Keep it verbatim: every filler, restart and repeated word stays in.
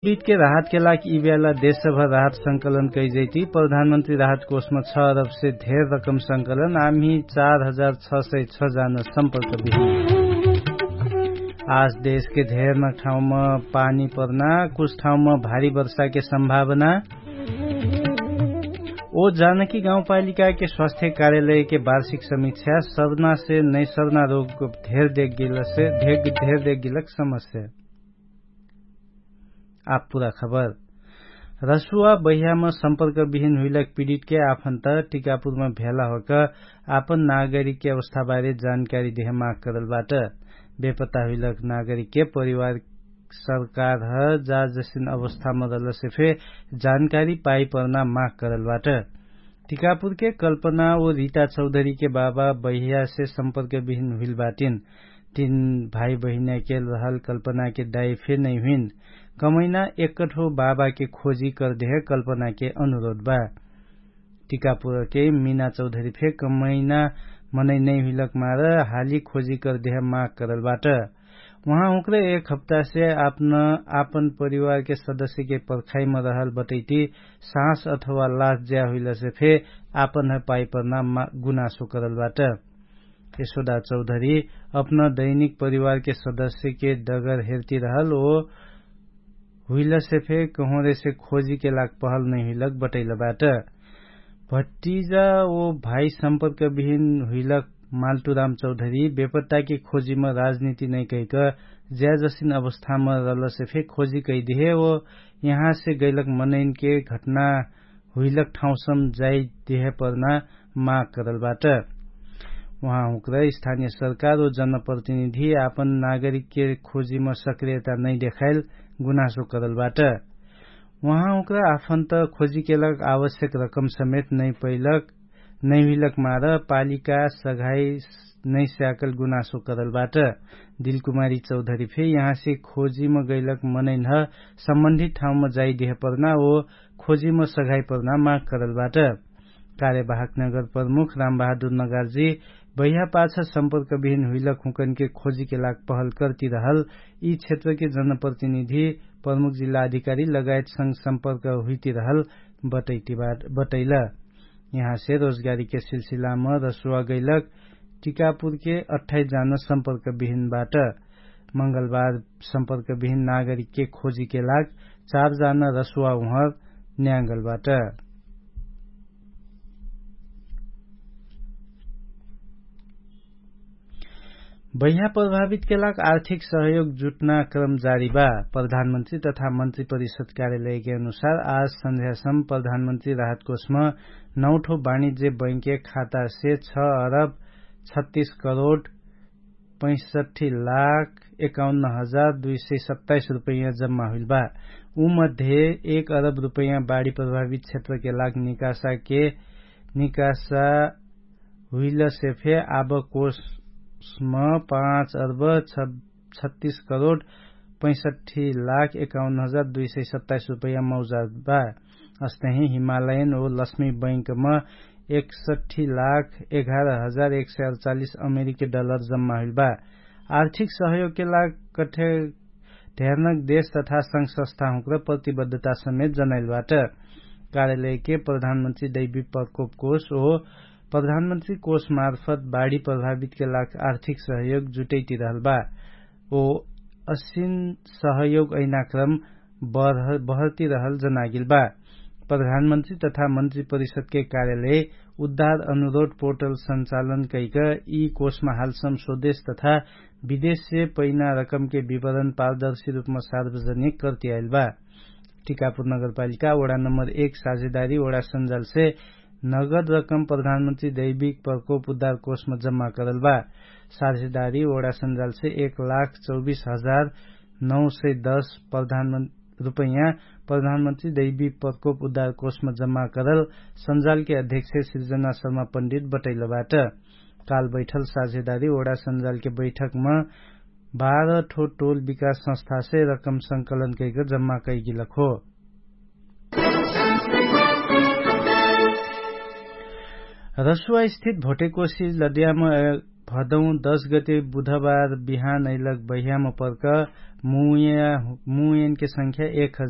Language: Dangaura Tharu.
पीडीतके राहतके लाग यि बेला देशभर राहत संकलन कैजैती। प्रधानमन्त्री राहत कोषमा छ अरबसे धेर रकम संकलन आम्ही चार हजार छ सय छ जान सम्पर्क बिहिन। आज देशके धेर न ठाउँमा पानी पर्ना कुछ ठाउँमा भारी वर्षाके सम्भावना। ओ जानकी गाउँपालिकाके स्वास्थ्य कार्यालयके वार्षिक समीक्षा सर्नासे नैसर्ना रोग धेर देखगेलक समस्या। आप पुरा खबर। रसुवा बहियाम सम्पर्क बिहिन हुइलक पिडितके आफन्त टिकापुरमा भेला होक आपन नागरिकके अवस्थाबारे जानकारी देह माग करल बाट। बेपत्ता हुइलक नागरिकके परिवार सरकार ह जा जसिन अवस्थामा रहलसे फे जानकारी पाइपर्ना माग करल बाट। टिकापुरके कल्पना ओ रिता चौधरीके बाबा बहियासे सम्पर्क बिहिन हुइल बाटिन। तीन भाई बहिनाके रहल कल्पनाके दाई फे नै हुइन। कमैना एक्कठो बाबाके खोजी करदेह कल्पनाके अनुरोध बा। टिकापुरके मिना चौधरी फे कमैना मनै नै हुइलक मार हाली खोजी करदेह माग करल बाट। उहाँ हुँक्र एक हप्तासे आपन परिवारके सदस्यके पर्खाइम रहल बटैती साँस अथवा लास ज्या हुइलसे फे आपन पाइपर्ना गुनासो करल बाट। यशोदा चौधरी अपना दैनिक परिवारके सदस्यके डगर हेर्ति रहल ओ हुइलसे फे कहोरेसे खोजीके लाग पहल नै हुइलक बटैल बाट। भट्टिजा ओ भाई सम्पर्क बिहिन हुइलक माल्टुराम चौधरी बेपत्ताके खोजीम राजनीति नै कैक ज्याजसिन अवस्थाम रहलसे फे खोजी कैदेहे ओ यहाँसे गैलक मनैनके घटना हुइलक ठाउँसम जाइदेह पर्ना माग करल बाट। उहाँ हुँक्र स्थानिय सरकार ओ जनप्रतिनिधि आपन नागरिकके खोजीम सक्रियता नै देखाइल गुनासो करल बाट। उहाँ हुँक्र आफन्त खोजीके लाग आवश्यक रकम समेत नै पैलक नै हुइलक मार पालिका सघाइ नै स्याकल गुनासो करल बाट। दिलकुमारी चौधरी फे यहाँसे खोजीम गैलक मनैनह सम्बन्धित ठाउँम जाइदेह पर्ना ओ खोजीम सघाइ पर्ना माग करल बाट। कार्यवाहक नगर प्रमुख रामबहादुर नगार्जी बहिया पाछ सम्पर्क बिहिन हुइलक हुँकनके खोजीके लाग पहल करति रहल यि क्षेत्रके जनप्रतिनिधि प्रमुख जिल्ला अधिकारी लगायतसँग सम्पर्क हुइति रहल बटैल। यहाँसे रोजगारीके सिलसिलाम रसुवा गैलक टिकापुरके अठाइस जान सम्पर्क बिहिन बाट। मंगलबार सम्पर्क बिहिन नागरिकके खोजीके लाग चार जान रसुवा उहर न्याङ्गल बाट। बहिया प्रभावितके लाग आर्थिक सहयोग जुट्ना क्रम जारी बा। प्रधानमन्त्री तथा मन्त्री परिषद कार्यालयके अनुसार आज सन्ध्यासम प्रधानमन्त्री राहतकोषमा नौठो वाणिज्य बैंकके खातासे छ अरब छत्तीस करोड पैसठी लाख एकाउन्न हजार दुई सय सत्ताइस रुपैयाँ जम्मा हुइल बा। उमध्ये एक अरब रुपैयाँ बाढी प्रभावित क्षेत्रके लाग निकासाके निकासा हुइलसे फे आब कोषम पाँच अर्ब छत्तीस करोड पैसठी लाख एकाउन्न हजार दुई सय सत्ताइस रुपैयाँ मौजाद बा। अस्तही हिमालयन ओ लक्ष्मी बैंकम एकसठी लाख एघार हजार एक सय अडचालिस अमेरिकी डलर जम्मा हुइल बा। आर्थिक सहयोगके लाग कठे ढेरनक देश तथा संघ संस्थाहुँक्र प्रतिबद्धता समेत जनाइल बाट। कार्यालयके प्रधानमन्त्री दैवी प्रकोप कोष ओ प्रधानमन्त्री कोष मार्फत बाढी प्रभावितके लाग आर्थिक सहयोग जुटैति रहल बा। ओ असिन सहयोग ऐनाक्रम बहर्ति रहल जनागिल बा। प्रधानमन्त्री तथा मन्त्री परिषदके कार्यालय उद्धार अनुरोध पोर्टल सञ्चालन कैक यि कोषमा हालसम स्वदेश तथा विदेशसे पैना रकमके विवरण पारदर्शी रुपमा सार्वजनिक कर्ति आइल बा। टिकापुर नगरपालिका ओडा नम्बर एक साझेदारी ओडा सञ्जालसे नगद रकम प्रधानमन्त्री दैविक प्रकोप उद्धार कोषमा जम्मा करल बा। साझेदारी ओडा सञ्जालसे एक लाख चौबिस हजार नौ सय दस प्रधानमन्त्री रुपैयाँ प्रधानमन्त्री दैवी प्रकोप उद्धार कोषमा जम्मा करल सञ्जालके अध्यक्ष सिर्जना शर्मा पण्डित बटैल बाट। काल बैठल साझेदारी ओडा सञ्जालके बैठकमा बाह्र ठो टोल विकास संस्थासे रकम संकलन कैक जम्मा कैगिलक हो। रसुवा स्थित भोटेकोशी लद्याम भदौ दश गते बुधबार बिहान अइलक बहियाम पर्क मुयनके संख्या एक